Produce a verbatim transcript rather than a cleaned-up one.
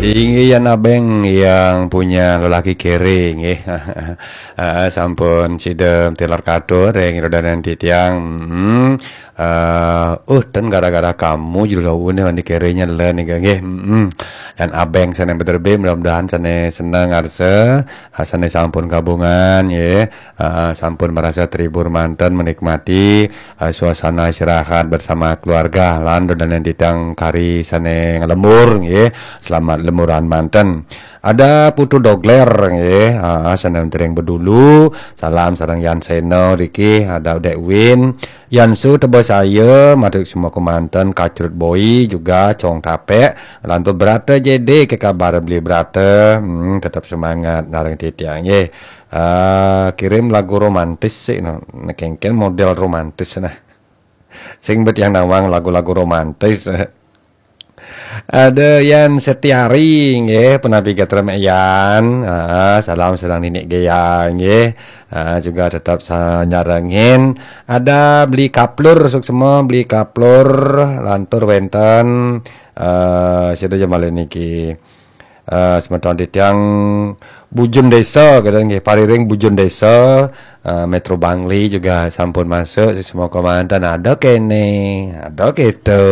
Inggih, Yan Abeng yang punya lelaki kere, nggih. Ah, sampun sida tilar katur ring ida dané titiang. Hmm. Ah, uh, ten gara-gara kamu jero laune mandi kerenya len nggih. Hmm. Yan Abeng sané beterbe, mudah-mudahan sané seneng ngarsa, ah, sané sampun kabungan, nggih. Ah, sampun merasa terhibur manten, menikmati, ah, suasana istirahat bersama keluarga lan ida dané titiang kari sané nglembur, nggih. Selamat lemburan manten. Ada Putu Dogler, nggih. Ah, sané tering bedulu, salam sareng Yan Seno riki, ada Dek Win, Yan Su Tebosaya, matur semua kemanten, Kacrut Boy juga, Cong Tapek, lantur Brata J D, ke kabar beli Brata, hmm, tetap semangat nareng titiang, nggih. Ah, kirim lagu romantis sih, no. Nekengken model romantis, nah. Sing bet yang nawang lagu-lagu romantis. Ada Yan Setiari, nggih, penapi gatra Mek Yan. Ah, salam sedang ninik gaya, nggih. Ah, juga tetap sa-, nyarengin. Ada beli kaplur, suksma beli kaplur, lantur wenten. Ah, sida jamalin niki. Eh, semeton titiang Bujun Desa, kata nggih, pariring Bujun Desa, eh, Metro Bangli juga sampun masuk, semua komandan ada kene, ada gitu.